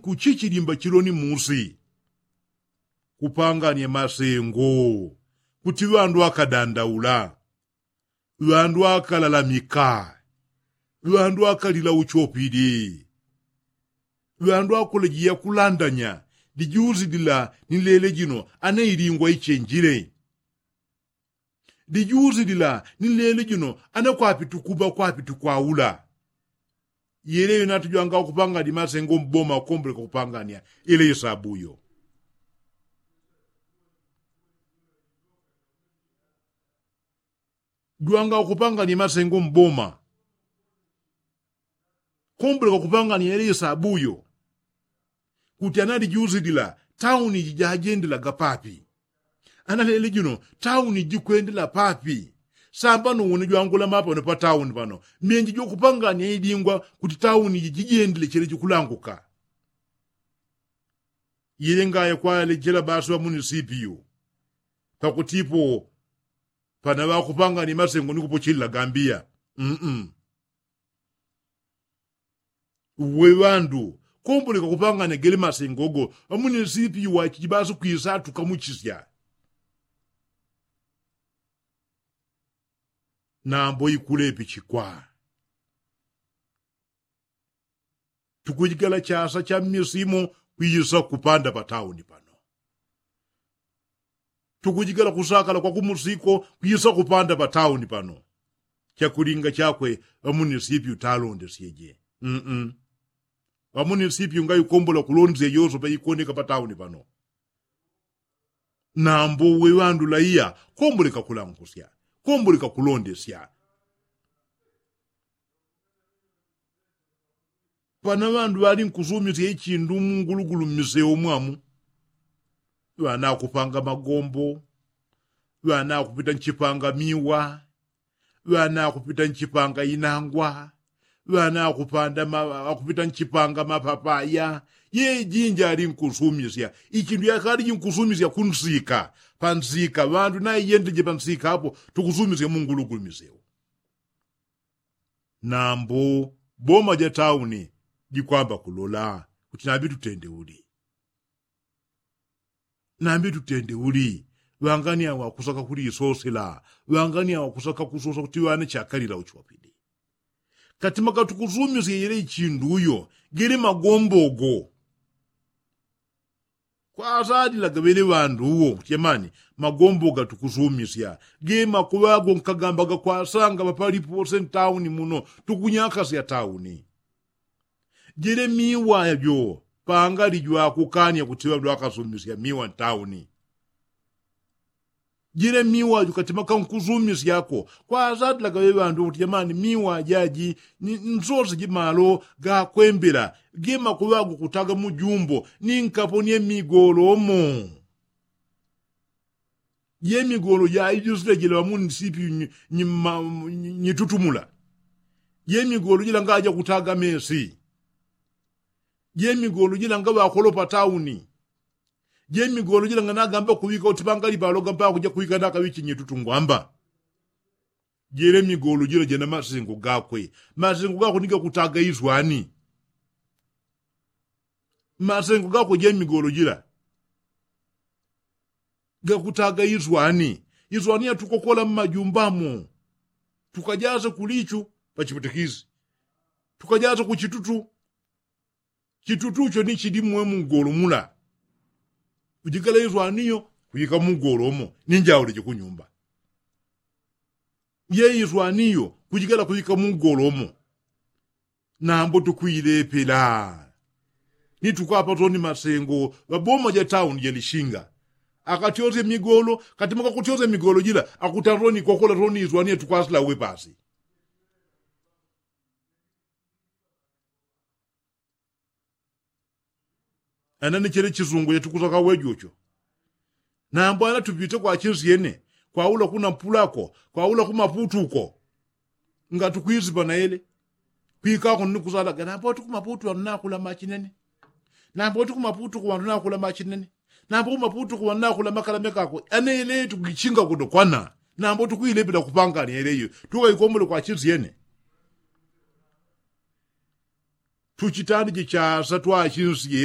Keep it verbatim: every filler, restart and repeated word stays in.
Kuchichilimba chiloni musi kupangania masengo kuti ŵandu akadandaula, ŵandu akalalamika, ŵandu akalila uchopili, ŵandu akolejiya kulandanya lijuzi lila ni lele jino anailingwa ichenjile. Lijuzi lila ni lele jino anakwapitukuma kwapitukwaula. Yeleyo natujwanga ukupangania masengo mboma ukomboleka kupangania yeleyo sabuyo. Jwanga ukupangania masengo mboma kombuleka kupangania yele isabuyo. Kuti analijusilila tauni jijajendelaga papi? Analele jino tauni jikwendela papi? Sambano wone jwangula mapano pa tauni pano menji jwakupangania idingwa kuti tauni jijijendele chele jikulanguka. Yele ngaya kwalejela basi ŵamunisipiyu pakutipo pana ŵakupangania masengo ni kupochelela gambiya. Mm-mm. Uwe ŵandu kombulika kupangania gele masengo go ŵamunisipiyu wachiji basi kwisa tukamuchisya. Nambo ikulepichikwa tukujigala chasa cha mmisimo kwisa kupanda pa tauni pano. Tukujigala kusakala kwa kumusiko kwisa kupanda pa tauni pano. Chakulinga chakwe ŵamunisipiyu talondesyeje. Mm-mm. Ŵamunisipiyu ngaikombola kulondesya yoso paikoneka pa tauni pano. Nambo uwe ŵandu laiya komboleka kulankusya, komboleka kulondesya. Pana ŵandu ŵali nkusumisya ichindu mungulugulu mmiseu mwamu. Ŵana akupanga magombo, ŵana akupita nchipanga miwa, ŵana akupita nchipanga inangwa, ŵana akupita nchipanga mapapaya. Ye jinji ali nkusumisya ichindu yakali jinkusumisya kunsika. Pansika ŵandu naiyendeleje pansika apo tukusumisya mungulugulu miseu. Nambo boma ja tauni jikwamba kulola kuti nambi tutende uli. Nambi tutende uli. Ŵangani awa kusaka kulisosela, ŵangani awa kusaka kusosa kuti ŵana chakalila uchopili. Katima katukusumisya yele ichindu uyo gele magombo go. Kwasalila gaŵele ŵandu uwo kuti jamani, magombo gatukusumisya ge makuŵa ago nkagambaga kwasanga ŵapalipose ntauni muno tukunyakasya tauni. Jele miwa jo pangali jwakukanya kuti ŵandu akasumisya miwa ntauni. Jele miwa jo katima kankusumisyako kwasatilaga ŵe ŵandu kuti jamani miwa jaji ni nsose jimalo gakwembela ge makuŵa ago kutaga mujumbo ni nkaponie migolomo. Jemigolo jaijusile jila ŵamunisipi nyitutumula. Jemigolo jila ngaja kutaga mesi. Jemigolo jila ngaŵakolopa tauni. Jemigolo jila nganagamba kuŵika uti pangali paloga mpaka kuja kuŵika nakaŵichi nyitutu ngwamba. Jele migolo jila jena masengo gakwe. Masengo gakwe ni gakutaga iswani. Masengo gakwe jemigolo jila gakutaga iswani. Iswani yatukokola mmajumbamo tukajase kulichu pachiputikisi tukajase kuchitutu. Chitutucho ni chili mwe mugolo mula. Kujikala iswaniyo kuyika mugolo umo ni njaule jikunyumba. Ye iswaniyo kujikala kuyika mugolo umo. Nambo tukwilepela ni tukwapa toni masengo ŵaboma ja tauni jalishinga. Akatyosye migolo katima kakutyosya migolo jila akutana toni kokola toni iswaniyo tukwasila uwe pasi. Ana ni chele chisungu chatukusaka wejucho. Nambo ana tupite kwa chinsyene kwaula kuna mpulako kwaula kumaputuko. Ngatukwisipa naele kwikako ni kusalaga nambo tukumaputu anu nakula machinene. Nambo tukumaputuko anu nakula machinene. Nambo kumaputuko anu nakula makala mekako anaele tukichinga kuno kwana. Nambo tukwilepela kupangania eleyo tukaikomole kwa chinsyene. Tuchitani chichasa twa chinsyene.